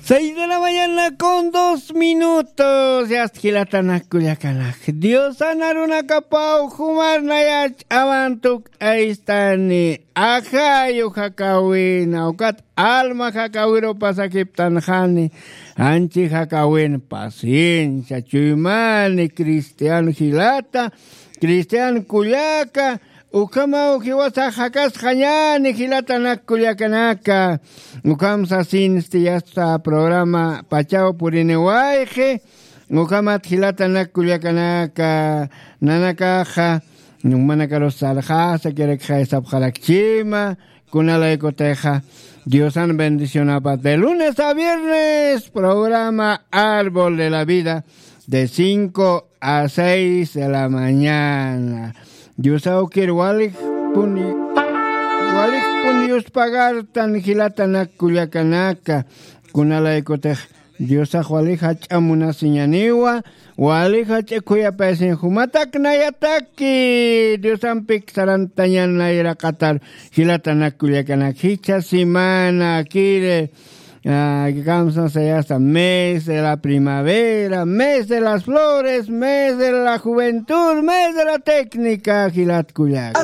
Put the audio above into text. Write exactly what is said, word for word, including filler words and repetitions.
Seis de la mañana con dos minutos. Yast jilatanak kullakanak, Diosan arunakapaw jumarnayach awan tukt'aystani. Ajayu jakawina ukat alma jakawiru pasakiptanxani. Anchi jakawin paciencia chuymani cristian jilata, cristian kullaka. Ukhamaw jiwasax jakasxañani jilatanak kullakanaka. Ukham sasinsti yasta programa pachaw puriniwayxi. Ukhamat jilatanak kullakanaka, nanakaxa numanakarus sarxasa kirakxay sapxarakchima. Kunalaykutixa diosan bendicionapat de lunes a viernes programa árbol de la vida de cinco a seis de la mañana. Diosawkir walixpuni walixpuni yuspagartan jilatanak kullakanaka. Kunalaykutix diosax wali jach'a munasiñaniwa, wali jach'a khuyapayasiñ jumatak nayataki diosampik sarantañan nayraqatar. Jilatanak kullakanak jichha semana kiri. Kamsasayasa mes de la primavera, mes de las flores, mes de la juventud, mes de la técnica jilat kullaka.